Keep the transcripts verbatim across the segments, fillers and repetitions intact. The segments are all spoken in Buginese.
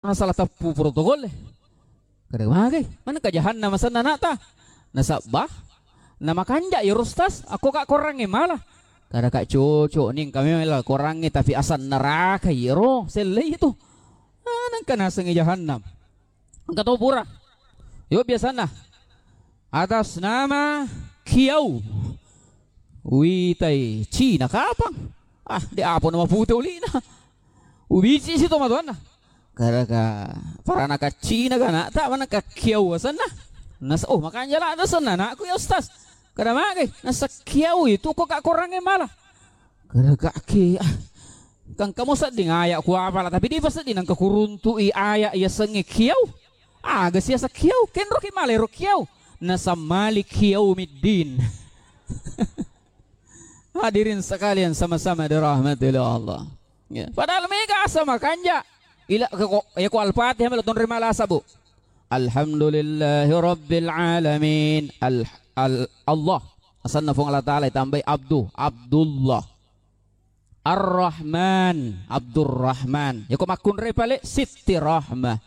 Nasala teppu protokol e. Kada magai, manengka jahannam asenna ana'ta. Nasabba, namakanja iyaro ustaz, akko ka korangnge mala. Kada ka cocok ni engka memang la korangnge, tapi asal neraka iyaro, sellei itu. Ah, nengka nasengngi jahannam. Engka to pura. Yo biasanna. Atas nama Kiau. Witai Cina kapang. Ah, de apa nama pute ulina. Ubici si to matuanna. Kada ka parana ka Cina ka ana'ta, manengka Kiau asenna. Nas-, oh, makanja la asenna anakku ya ustaz. Kada magai, nasa Kiau itu ko ka korangnge mala. Kada ka ki, ah. Kan kamu sedding aya ku apala, tapi dipa sedding nengka kuruntu'i aya yasengnge Kiau. Aga siasa Kiau, kenro ki mala ero Kiau. Nasammali Kiau middin. Hadirin sekalian sama-sama dirahmati oleh Allah. Ya. Padahal mega asa makanja. Ila, ko, ya, ko Al-Fatihah melo tonri malasa, Bu. Alhamdulillahi rabbil alamin. Al, al, Allah. Asanna Fuang Allah Ta'ala itambai Abdu, Abdullah. Ar-Rahman, Abdurrahman. Ya, ko makkunrai pale Sitti Rahmah.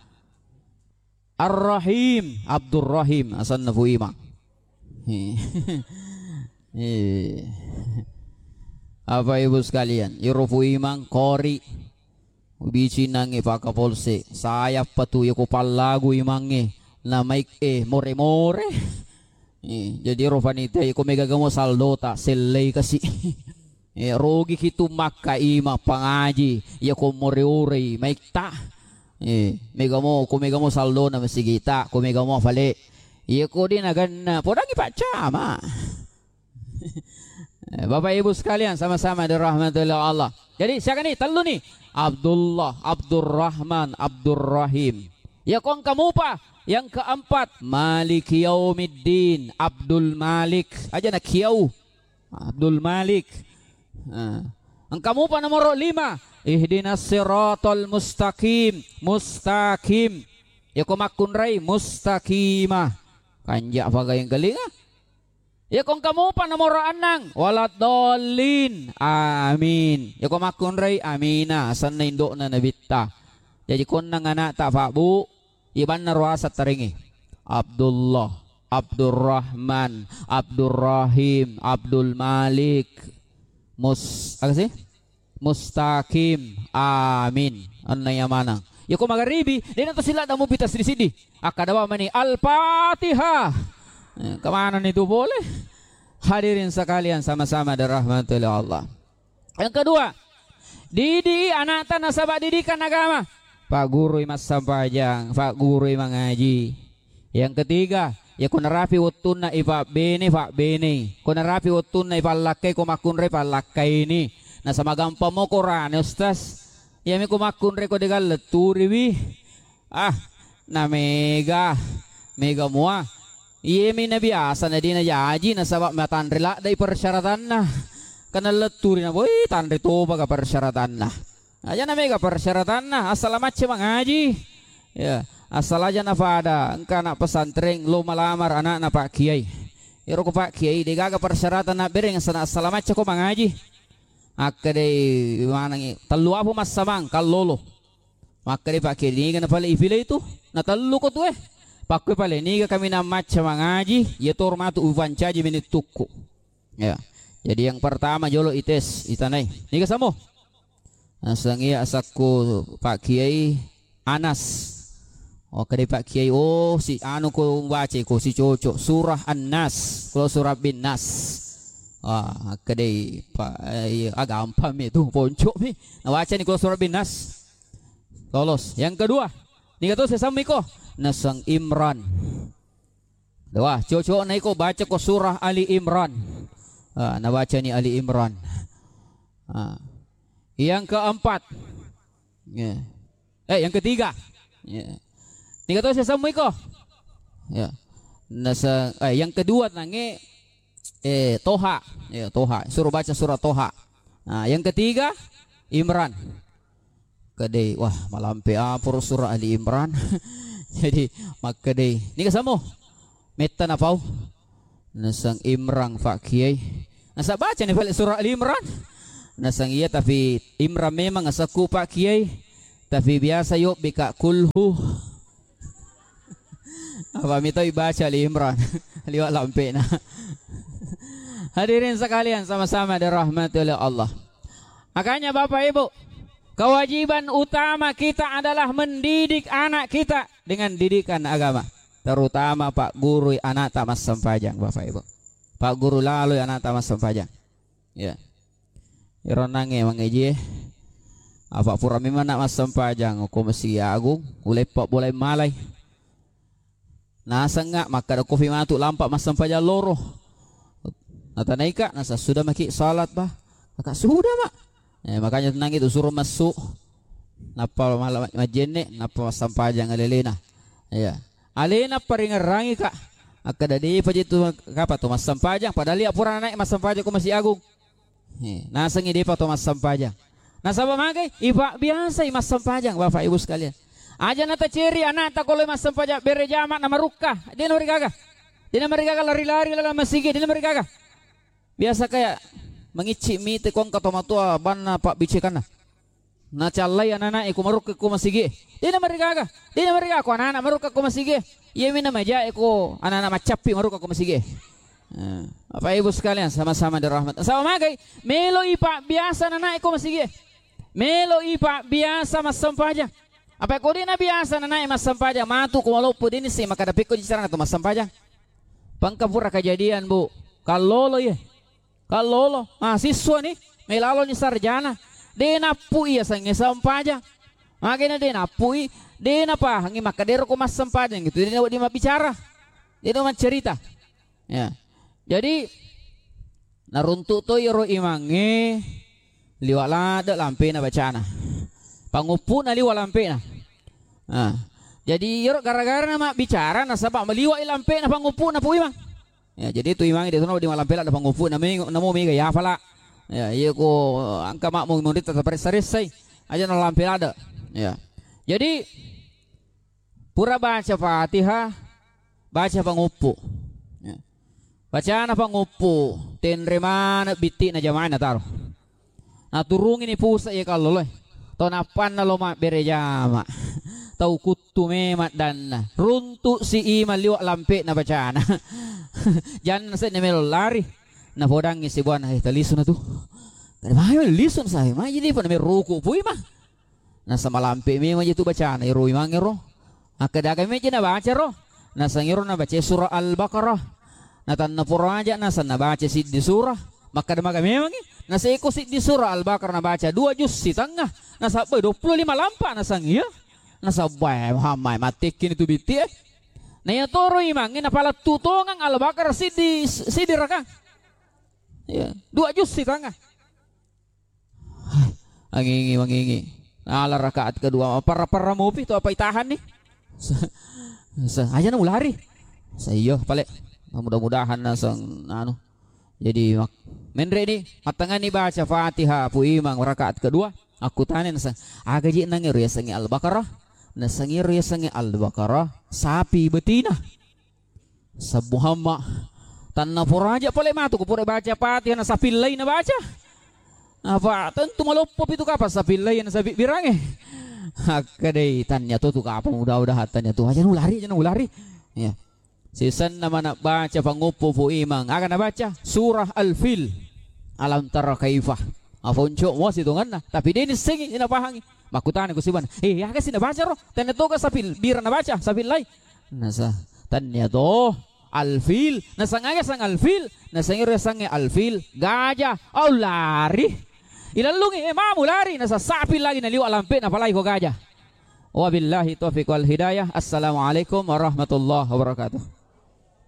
Ar-Rahim, Abdurrahim, asanna Fu Imang. Eh. Eh. Bapak Ibu sekalian, iro Fu Imang, kori, ubici nangnge pakapolse, sayap patu yako pallagu imangnge, na maik, eh, more-more. Eh, jadi iro panitia, yako mega gamo saldota, sellei kasi. Eh, rogi ki tu makka ima pangaji, iya ko more-orei maitta. Eh, mega mo, ko mega mo saldona masigita, ko mega mo fale. Iya ko de naganna, podangi Pak Camat. Eh, Bapak Ibu sekalian sama-sama dirahmati oleh Allah. Jadi siaga ni? Tellu ni. Abdullah, Abdurrahman, Abdurrahim. Iya ko engka mupa, yang keempat, Maliki Yaumiddin, Abdul Malik. Aja na Kiau. Abdul Malik. Nah. Engka mupa nomoro lima. Ihdinas siratal mustaqim. Mustaqim. Yako makkunrai mustaqimah. Kanja paga yang kelinga. Yako engka mupa nomoro annang. Waladdallin. Amin. Yako makkunrai amina. Asanna indo'na nabitta. Jaji konnang ana'ta, Pak Bu, ibanna ruasa taringi. Abdullah, Abdurrahman, Abdurrahim, Abdul Malik, Mus-, aga si? Mustaqim. Amin. Anna iya manang. Yako magaribi, dena to sila damu pita sidi-sidi. Akkada wa mani Al-Fatihah. Eh, kemana ni tu boleh? Hadirin sekalian sama-sama dirahmati oleh Allah. Yang kedua, didi anakta nasaba didikan agama. Paggurui massempajang, paggurui mangaji. Yang ketiga, ya ko narapi wettunna ipabbene, pabbenei. Ko narapi wettunna ipallakkai, ko makkunrai pallakkaini. Nasaba gampang mo korane, Ustaz. Iyami ko makkunrai ko degaga letturiwi. Ah, na mega, mega mua. Iyemi na biasa na dina jaji nasaba matanre laddai persyaratanna. Kana letturi na boi tanre topa ga persyaratanna. Aja na mega persyaratanna, asala macca mangaji. Ya, asal aja na pada engka anak pesantren lo malamar anakna Pak Kiai. Ero ko Pak Kiai degaga persyaratan na bereng sana asala macca ko mangaji. Akkedai manangi tellu apa massamang kallolo. Makkeda Pak Kiai, niga na pale ipilei tu? Na tellu ko tu, eh. Pakkoi pale, niga kami na macca mangaji, iya toro matu upancaji menittukku. Ya. Jadi yang pertama jolo ites, itanai. Niga samo? Naseng iya asakku Pak Kiai Anas. Oh, kedai Pak Kiai, oh, si anu ko baca ko si cocok surah An-Nas, kalau surah bin Nas. Ah, kedai Pak, eh, iya, ah, gampang mi tu, poncok mi. Nah, baca ni kalau surah bin Nas. Lolos. Yang kedua, niga to sesammu iko? Naseng Imran. Wah, cocok na iko baca ko surah Ali Imran. Ah, nabaca ni Ali Imran. Ah. Yang keempat. Ya. Eh, yang ketiga. Ya. Niga to sesammu iko? Ya. Nasa, eh, yang kedua nange, eh, Toha. Ya, Toha. Suruh baca surah Toha. Nah, yang ketiga Imran. Kedai, wah, malampe aporo surah Ali Imran. Jadi, makkedai, niga samo? Metta napau. Naseng Imran Pak Kiai. Nasa baca ni balik surah Ali Imran. Naseng iya, tapi Imran memang asakku Pak Kiai. Tapi biasa yobbi ka kulhu. Apa mitau ibaca Ali Imran liwa' lampe'na. Hadirin sekalian, sama-sama dirahmati oleh Allah. Makanya Bapak Ibu, kewajiban utama kita adalah mendidik anak kita dengan didikan agama. Terutama paggurui anakta massempajang, Bapak Ibu. Pagguru laloi anakta massempajang. Ya. Ero nangnge mangejie. Apa pura memang nak massempajang ko Masigi Agung, uleppa bolai malai. Nasengnga makkeda kofi matu lampa massempajang loro. Natanaika, nasa sudah maki salat, bah? Maka sudah, Mak. Eh, makanya tenang itu, suruh masuk. Nappa mala-, majjenne, nappa massempajang alelena. Iya. Alena paringerrangi, Kak. Akkeda depa je tu kapa tu massempajang, padahal iya pura naik massempajang ko Masigi Agung. He, nasengngi depa to massempajang. Nasaba magai, ipabbiasai massempajang, Bapak Ibu sekalian. Aja nataceri anakta ko loi massempajang bere jama na marukka, de' namarigaga. De' namarigaga lari-lari lalang masigi, de' namarigaga. Biasa kayak mangicci mite ko engka tomatoa banna pabbicekanna. Nacallai anana'e ko marukka ko masigi. De' namarigaga. De' namarigaga ko anana marukka ko masigi. Iyami namajae ko anana maccappi marukka ko masigi. Eh, Bapak Ibu sekalian, sama-sama dirahmat. Sama magai, melo ipabbiasa anana'e ko masigi. Melo ipabbiasa massempajang. Apa ko de' nabiasa anana'e massempajang, matu ko maloppo, de' nissengngi makkeda pekko ji carana tu massempajang. Pangka pura kejadian, Bu. Kallolo iye. Kallolo, mahasiswa ni, melaloni sarjana. De' nappui yasengnge sempajang. Makanya de' nappui, de' napahangi makkedero ko massempajang gitu. De' nawedding mabbicara. De' namaccerita. Ya. Jadi, naruntu' to iyaro imangnge liwa' ladde' lampena bacana. Panguppu'na liwa' lampena. Ah. Jadi, iyaro gara-gara namabbicara nasaba' maliwa'i lampena panguppu'na Pu Imang. Ya, jadi tu imangnge de' tona wedding malampe ladde' panguppu'na, namo mega yafala'. Ya, iya ko engka makmu munritta taparessa-ressai. Aja' nalampe ladde'. Ya. Jadi, pura baca Fatihah, baca panguppu'. Ya. Bacana panguppu', tenre maneng bitti'na jamaah nataro. Naturungini pusa' iya kalloloe. To nappanna lo mabbere jama'. Tau kuttu memang danna. Runtu' si imang liwa' lampe'na bacana. Janna se'na melo lari. Napodangngi sibuana, "Eh, talisuna tu." Kada mai lisu na sae, mai jadi pada meruku' Pu Imang. Nasa malampe memang je tu bacana ero imangngero. Akkeda aga meja nabaca ro. Naseng ero nabaca surah Al-Baqarah. Natanna pura aja' naseng nabaca siddi surah. Makkeda maga memangngi. Naseko siddi surah Al-Baqarah nabaca dua juz sitengnga. Nasabbai duappulo lima lampa naseng iya. Nasabbai Muhammad mattekkini tu bitti e. Na iya toro imangnge napalettu' tongang Al-Baqarah siddi, siddi rakang. Iya, dua juz sitengnga. Angingi, mangingi. Ala rakaat kedua, parra-parra mopi tu apa itahan ni? Sa-, sa-, aja' na ulari. Sa-, iyo, pale. Mudah-mudahan naseng, anu. Jadi, mak-, menre' ni, mattangani baca Fatihah, Pu Imang, rakaat kedua. Akkutana naseng, aga ji' nangero yasengnge Al-Baqarah? Naseng ero yasengnge Al-Baqarah, sapi betina. Sabbu hamma. Tanna pura aja' pale matu, ko pura baca Fatihah na sapi lai nabaca. Apa tentu maloppo pitu kapang sapi lai na sapi birangnge. Hakka dei, tannia to tu kapang, mudah-mudahan tannia to. Aja' na ulari, aja' na ulari. Ya. Sisenna mana baca panguppu' Pu Imang. Aga nabaca? Surah Al-Fil. Alam tara kaifa. Apa unco' mo sitonganna. Tapi de' nissengngi, de' napahangi. Makkutana ko sibuana, "Eh, aga si nabaca ro? Tannia to ga sapi birang nabaca, sapi lai?" Nasa, tannia to, Al-Fil. Naseng aga sang Al-Fil? Naseng ero yasengnge Al-Fil, gajah. Au lari. Ilallungi, eh, mamu lari. Nasa sapi lagi naliwa' lampe' napalai ko gajah. Wabillahi taufiq wal hidayah. Assalamualaikum warahmatullahi wabarakatuh.